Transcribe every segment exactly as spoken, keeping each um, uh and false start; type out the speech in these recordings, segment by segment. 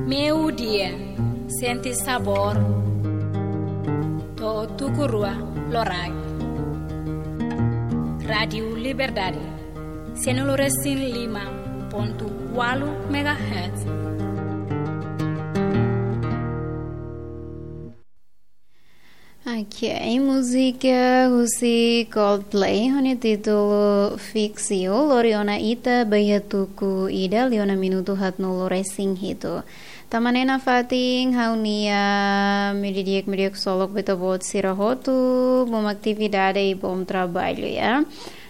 Meiudia, sente sabór. To'o tuku rua loraik. Rádiu Liberdade, sianulu resin lima pontu ualu megahertz. Ok, múzika husi Coldplay ho nia títulu Fix You, lori ona ita ba iha tuku ida liu ona minutu haatnulu resin hitu. Tanba ne'e nafatin ha'u-nia meiudia di'ak, meiudia di'ak ksolok ba ita-boot sira hotu, bom atividade i bom traballu, ya.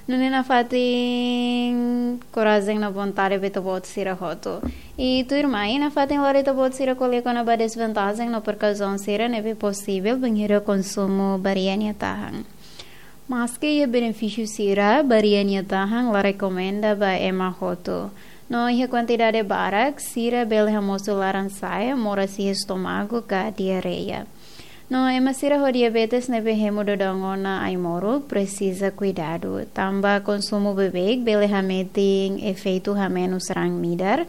Nune'e nafatin korajen no vontade ba ita-boot sira hotu. I tuirmai nafatin lori ita-boot sira ko'alia kona-ba dezvantajen no prekauzaun sira ne'ebé posivel bainhira konsumu baria nia tahan. Maski iha benefísiu sira, baria nia tahan la rekomenda ba ema hotu. No iha kuantidade barak, sira bele hamosu laran-sa'e, moras iha estómagu ka diarreia. No ema sira ho diabetes ne'ebé hemu daudaun ona ai-moruk presiza kuidadu. Tanba konsumu beibeik bele hametin efeitu hamenus raan midar.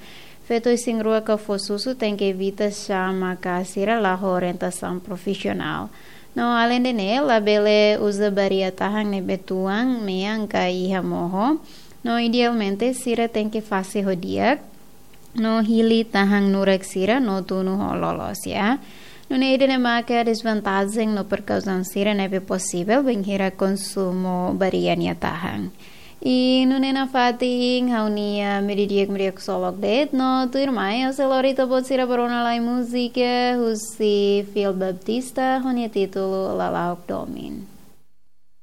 Feto isin-rua ka fó susu tenke evita xama ka sira la ho orientasaun profisionál. No alende ne'e, labele uza baria tahan ne'ebé tuan, mean ka iha moho. No idealmente sira tenke fase ho di'ak no hili tahan nurak sira no tunu ho loloos, ya. Nune'e ida-ne'e maka dezvantajen no prekauzaun sira ne'ebé posivel bainhira konsumu baria nia tahan. I nune'e nafatin ha'u-nia meiudia di'ak, meiudia di'ak ksolok de'it, no tuirmai ha'u sei lori ita-boot sira ba rona lai múzika husi Phil Baptista ho nia títulu Lala'ok Domin.